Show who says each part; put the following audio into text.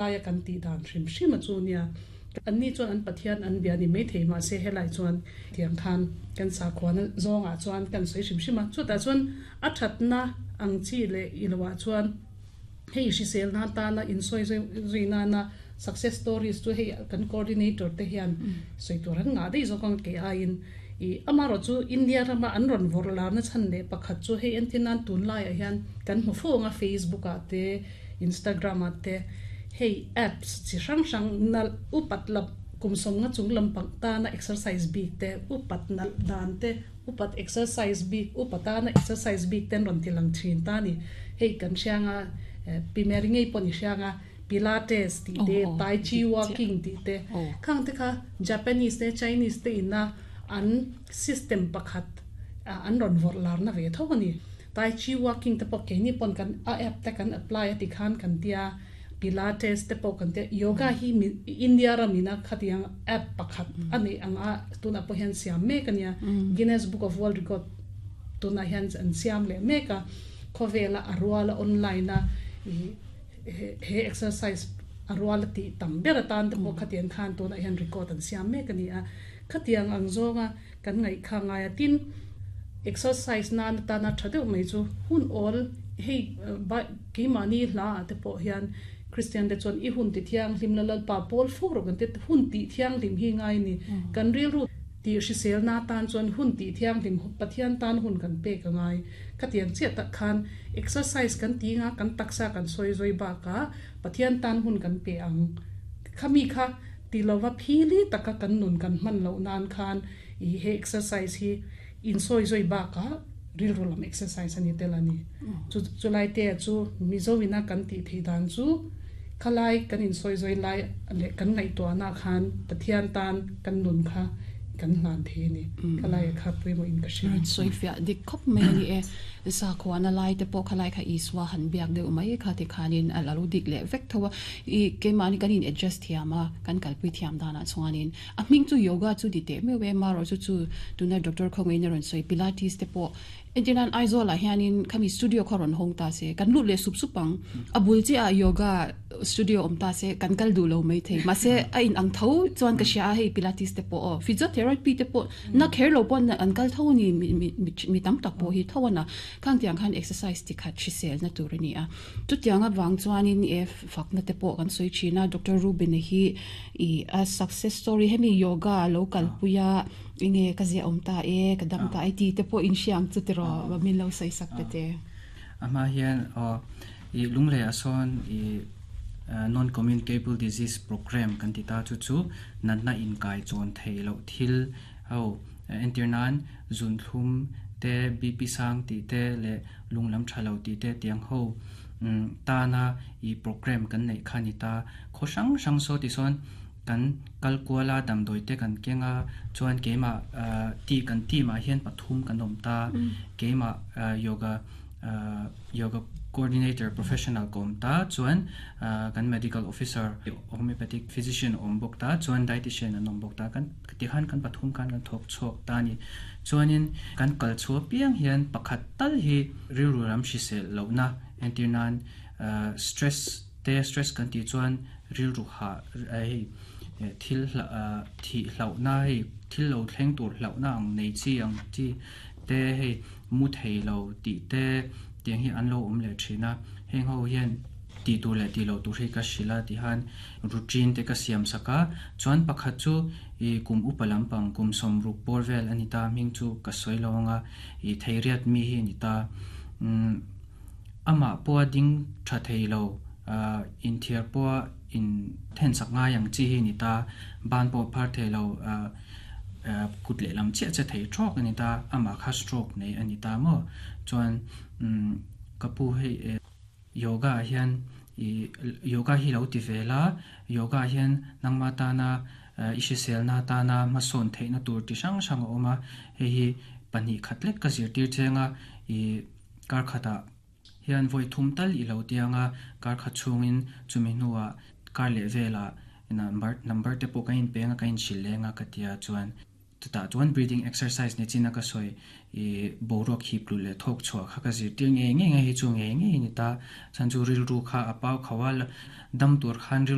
Speaker 1: Laia kan tih dan hrim hrim a chu nia. Anni chuan an Pathian an bia ni maithei mahse helai chuan tiang khan kan sakhuana zawngah chuan kan sawi hrim hrim a. Chutah chuan a thatna ang chi leh i loah chuan hei hrisel nan tana insawi zui nana success stories chu hei kan coordinator te hian sawi tur an ngah daih zawk ang kei aiin i amaherawh chu India rama an rawn vawrh larna chhan leh pakhat chu hei entir nan tunlaiah hian kan hmu fo ang a Facebook ah te Instagram ah te hei apps chi hrang hrang nalh upat lam kum sawmnga chung lampang tana exercise bik te, upat nalh dan te, upat exercise bik, upa tana exercise bik te an rawn ti lang thin ta a ni. Hei kan hrianga Pi Mary ngei pawh ni hrianga Pilates tih te, Tai Chi walking tih te khang te kha Japanese te Chinese te ina an system pakhat an rawn vawrh larna ve tho a ni. Tai Chi walking te pawh keini pawn kan a app te kan apply a ti khan kan tia, Pilates te pawh kan tia, yoga hi India ram ina khatiang app pakhat a neih ang a tunah pawh hian siam mek a nia, Guinness Book of World Record tunah hian an siam leh mek a, khawvela a ruala online a ih he exercise a ruala tih tam ber atan te pawh khatiang khan tunah hian record an siam mek a ni a, khatiang ang zawnga Kan ngaih kha ngai a, tin exercise nan atana tha deuh mai chu hun awl hei keimahni hla ah te pawh hian Kristian te chuan i hun ti thianghlim la Lalpa pawl fo rawh kan ti hun tih thianghlim hi ngai a ni. Kan rilru tih hriselna atan chuan hun tih thianghlim Pathian tan hun kan pek a ngai. Khatiang chiah tak khan exercise kan ti nga kan taksa kan sawi zawi bakah Pathian tan hun kan pe ang. Khami kha Ti lova phili taka kan nun kan hman loh nan khan i he exercise hi insawi zawi bakah rilru lam exercise a ni tel a ni. Chu chulai te chu Mizo ina kan tih theih dan chu khalai kan insawi zawi lai leh kan ngaihtuahna khan Pathian tan kan nun kha kan hlan thei a ni. Khalai kha pawimawh in ka hria.
Speaker 2: Rawn sawi fiah dik khawp mai a ni e. Sakhuana lai te pawh khalai kha Isua han biak deuh mai kha tikhanin a lo dik leh vek tho a. I keimahni kan in adjust thiam a, kan kalpui thiam danah chuanin a hming chu yoga chu ti teh meuh e, marawh chu chu tuna doctor khawngaiin a rawn sawi pilates te pawh entir nan Aizawl ah hianin khami studio kha rawn hawng ta se kan lut leh sup sup ang, a bul chiah ah yoga studio awm ta se kan kal duh lo mai thei mahse a in ang tho chuan ka hria a hei pilates te pawh aw physiotherapy te pawh na kher lo pawn an kal tho a ni mi tam tak pawh hi tho a na khang tiang khan exercise ti khat hriselna tur a ni a. Chutiang avang chuanin e fakna te pawh kan sawi thin a, Doctor Rubin-a hi ih a success story hemi yoga a lo kalpui a, enge ka ziah awm ta e, ka dam ta e tih te pawh inhria ang chu tiraw min lo sawi sak ta che.
Speaker 3: A hma hian aw ih lunglei ah sawn ih non communicable disease program kan ti ta chu chu natna inkai chawn theih loh thil ho entir nan zunthlum te BP sang tih te leh lunglam tha lo tih te tiang ho tana ih program kan neih kha a ni ta. Khaw hrang hrang saw ti sawn kan kal kual a, damdawi te kan keng a, chuan keimah ti kan team ah hian pathum kan awm ta. Keimah yoga yoga coordinator professional ka awm ta, chuan kan medical officer homeopathic physician a awm bawk ta, chuan dietician an awm bawk ta. Kan tikhan kan pathum khan kan thawk chhuak ta a ni. Chuanin kan kal chhuah piang hian pakhat tal hi rilru lam hrisel lohna entir nan stress te stress kan tih chuan rilru hah hei thil thih hlauhna hei thil lo thleng tur hlauhna ang nei chi ang chi te hei mu thei lo tih te tiang hi an lo awm leh thin a heng ho hian tih tur leh tih loh tur hi ka hrilh a tihan routine te ka siam sak a chuan pakhat chu ih kum upa lampang kum sawmruk bawr vel a ni ta hming chu ka sawi lo ang a ih theiriat mi hi a ni ta umm amah pawha ding tha thei lo ah inthiar pawha in then sak ngai ang chi hi a ni ta ban pawh phar thei lo ah ah kut lehlam chiah che thei trawk a ni ta amah kha stroke nei a ni ta maw chuan umm ka pu hei eh. Yoga ah hian ih yoga hi lo ti ve la, yoga ah hian nangma tana i hriselna tana hmasawn theihna tur ti hrang hrang a awm a, hei hi pahnih khat lek ka zirtir cheng a, ih kar khatah hian vawi thum tal i lo tiang a, kar khat chhungin chumi hnuah kar leh velah number number te pawh ka inpeng a ka inhrilh leng a ka tia chuan. Chutah chuan breathing exercise ni chin a ka sawi i boruak hip luh leh thawk chhuah kha ka zirtir ngei ngei a, hei chu ngei ngei a ni ta. Chhan chu rilru kha a pau kho a, dam tur khan rilru